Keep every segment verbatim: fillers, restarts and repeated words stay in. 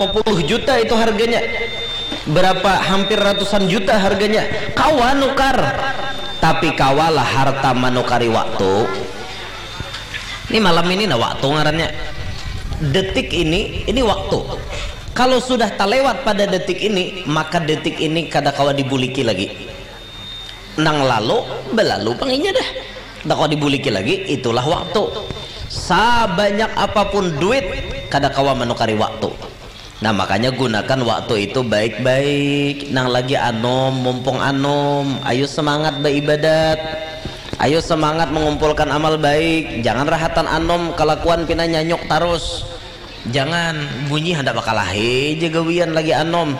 Berapa puluh juta itu harganya, berapa, hampir ratusan juta harganya, kawa nukar. Tapi kawalah harta manukari waktu. Ini malam ini nah waktu ngarannya. Detik ini, ini waktu. Kalau sudah terlewat pada detik ini, maka detik ini kada kawa dibuliki lagi. Nang lalu, belalu pang inya dah. Kada kawa dibuliki lagi, itulah waktu. Sabanyak apapun duit, kada kawa manukari waktu. Nah, makanya gunakan waktu itu baik-baik. Nang lagi anom, mumpung anom, ayo semangat beribadat. Ayo semangat mengumpulkan amal baik. Jangan rahatan anom, kelakuan pina nyanyuk tarus. Jangan, bunyi handak bakalahi ja gawian lagi anom.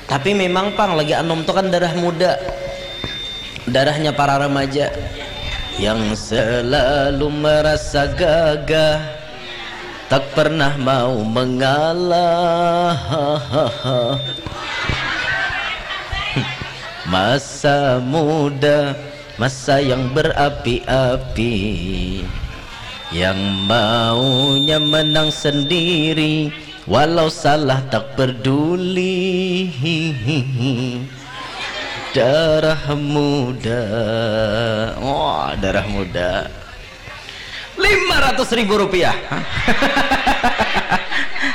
Tapi memang pang lagi anom tu kan darah muda. Darahnya para remaja yang selalu merasa gagah, tak pernah mau mengalah. Masa muda, masa yang berapi-api, yang maunya menang sendiri, walau salah tak peduli. Darah muda. Wah, darah muda. Lima ratus ribu rupiah.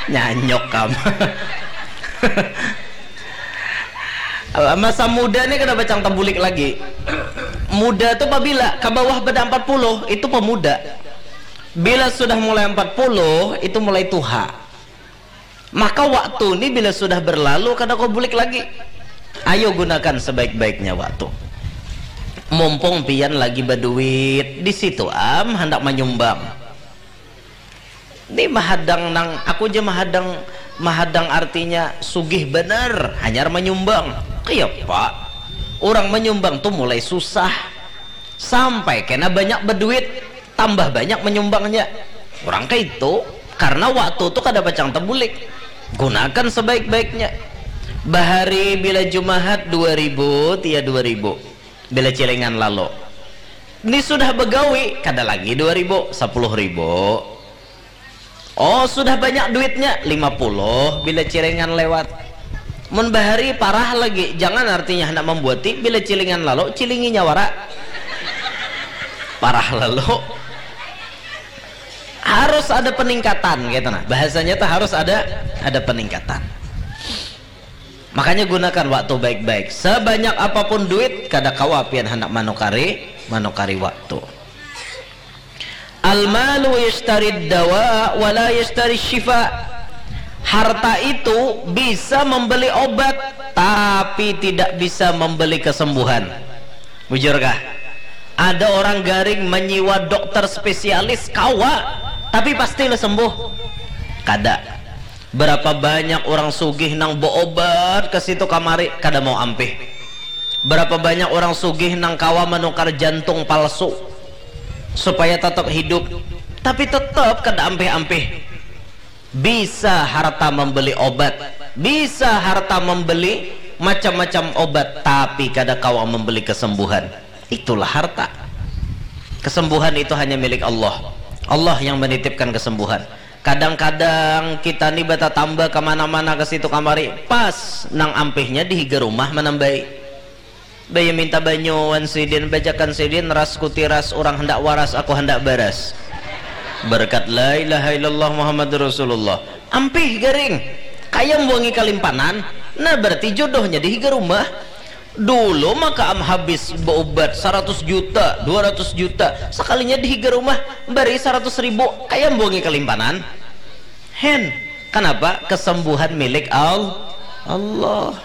Nyanyok kam. Masa muda ni kada pacang tabulik lagi. Muda tu pabila ka bawah pada empat puluh, itu pemuda. Bila sudah mulai empat puluh, itu mulai tuha. Maka waktu ni bila sudah berlalu, kada kawa bulik lagi. Ayo gunakan sebaik-baiknya waktu. Mumpung pian lagi baduit, di situ am handak manyumbang. Ni mahadang nang, aku ja mahadang, mahadang artinya sugih banar, hanyar manyumbang. Kayapa? Urang manyumbang tu mulai susah, sampai kena banyak baduit, tambah banyak manyumbangnya. Urang kaitu, karena waktu tu kada pacang tabulik. Gunakan sebaik-baiknya. Bahari bila Jumahat dua ribu, tia dua ribu. Bila cilingan lalu. Ni sudah bagawi, kada lagi dua ribu, sepuluh ribu. Oh, sudah banyak duitnya, lima puluh bila cilingan lewat. Mun bahari parah lagi, jangan artinya handak mambuati, bila cilingan lalu, cilinginya wara. Parah lalu. Harus ada peningkatan, gitu nah. Bahasanya tuh harus ada, ada peningkatan. Makanya gunakan waktu baik-baik. Sebanyak apapun duit, kada kawa pian handak manukari, manukari waktu. Al-malu yashtari dawa wa la yashtari shifa. Harta itu bisa membeli obat, tapi tidak bisa membeli kesembuhan. Bujurkah? Ada orang garing menyiwa dokter spesialis, kawa, tapi pastilah sembuh? Kada. Berapa banyak orang sugih nang beobat ke situ kamari, kada mau ampih. Berapa banyak orang sugih nang kawa menukar jantung palsu supaya tetap hidup, tapi tetap kada ampih-ampih. Bisa harta membeli obat, bisa harta membeli macam-macam obat, tapi kada kawa membeli kesembuhan. Itulah harta. Kesembuhan itu hanya milik Allah. Allah yang menitipkan kesembuhan. Kadang-kadang kita ni batatamba kemana-mana ke situ kamari, pas nang ampihnya di higa rumah manambai. Baya minta banyu wan sidin, bajakan sidin, ras kutiras, urang handak waras, aku handak baras. Berkat la ilaha illallah Muhammadur Rasulullah. Ampih garing. Kaya mbuangi kalimpanan. Nah, berarti jodohnya di higa rumah. Dulu maka am habis beobat saratus juta, dua ratus juta. Sakalinya di higa rumah, bari saratus ribu. Kaya mbuangi kalimpanan. Hen. Kanapa? Kesembuhan milik Al-, Allah.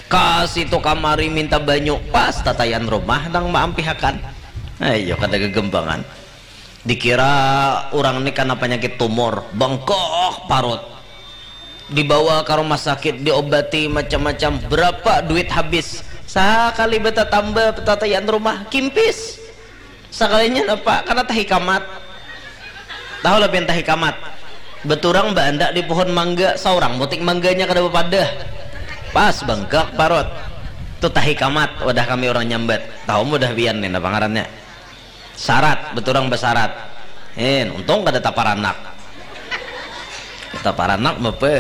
Ka situ kamari minta banyu, pas tatayan rumah nang maampihakan. Ayo, kada gegembangan. Dikira urang ni kana panyakit tumor, bengkak parut. Dibawa ka rumah sakit, diobati macam-macam, berapa duit habis. Sakali batatamba tatayan rumah, kimpis. Sakalinya napa? Kana tahi kamat. Tahu lah pian tahi kamat? Baturang baandak di pohon mangga, saurang mutik mangganya kada bapadah. Pas bangkak parut. Tu tahi kamat, wadah kami urang nyambat. Tahu mudah pian ni napa ngarannya? Sarat, baturang basarat. Hin, untung kada taparanak. Taparanak bapa eh.